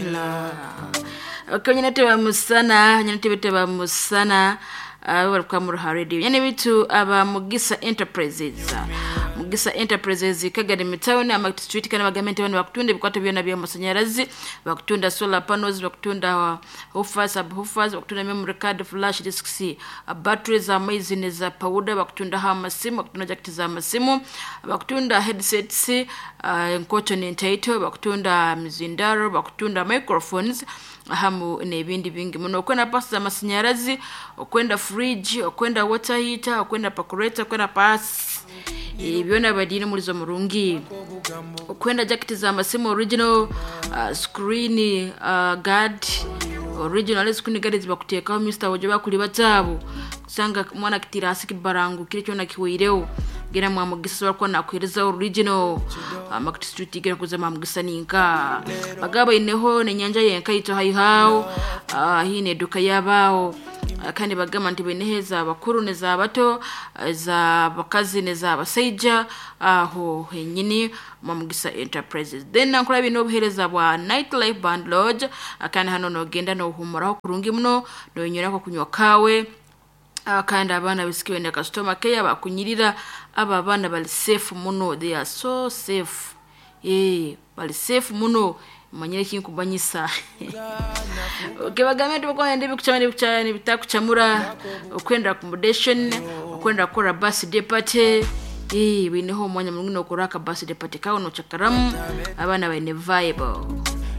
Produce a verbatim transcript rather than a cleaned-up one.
Lord. Okay, nyine teba musana, nyine tebe teba musana. Uh, bari muruha radio nyine bitu aba Mugisa Enterprises. Mugisa Enterprises Kagadi Town ama street kana bagamenti bano bakutunda ebikwato byona by'amasanyarazi, bakutunda solar panels, bakutunda woofers, subwoofers, bakutunda memory card, flash disks, uh, batteries amaizi neza powder, bakutunda amasimu, bakutunda jacket za masimu, bakutunda headsets, uh, enkoto n'entaito, bakutunda mizindaro, bakutunda microphones hamu n'ebindi bingi muno. Okwenda pasi z'amasanyarazi, okwenda fridge, okwenda water heater, okwenda percolator, okwenda pasi byona badiine mulizo murungi, okwenda jacket za masimu original, uh, screen uh, guard original screen guard zibakuteekaho Mister Wojo bakuli bataabu kusanga mwana kitira hasi kibarangu kile kyona kiweireho gera mwamugisa sobola kuba nakuhereza original uh, Street gera kuza mwamugisa ninka bagaba ineho nenyanja yenka ito haihao uh, hii ni eduka yabao. Kandi bagamba nti baineho ez'abakuru n'ez'abato, ez'abakazi n'ez'abasaija aho henyini Mwamugisa Enterprises. Then nankora bino obuheereza bwa Nightlife Band Lodge, kandi hano nogenda nohumuraho kurungi muno, nonywerako kunywa kawe, kandi abaana bisikiwe ne customer care bakunyirira. Aba abaana bali safe muno, they are so safe, eh bali safe muno, manyire kinkumanyisa. Okay, bagambe nti bakwenda ebikucamura ebikucamura ebitakucamura, okwenda accommodation, okwenda kukora birthday party, eh bineho omwanya murungi nokora aka birthday party kawe nocakaramu, abaana baine vibe.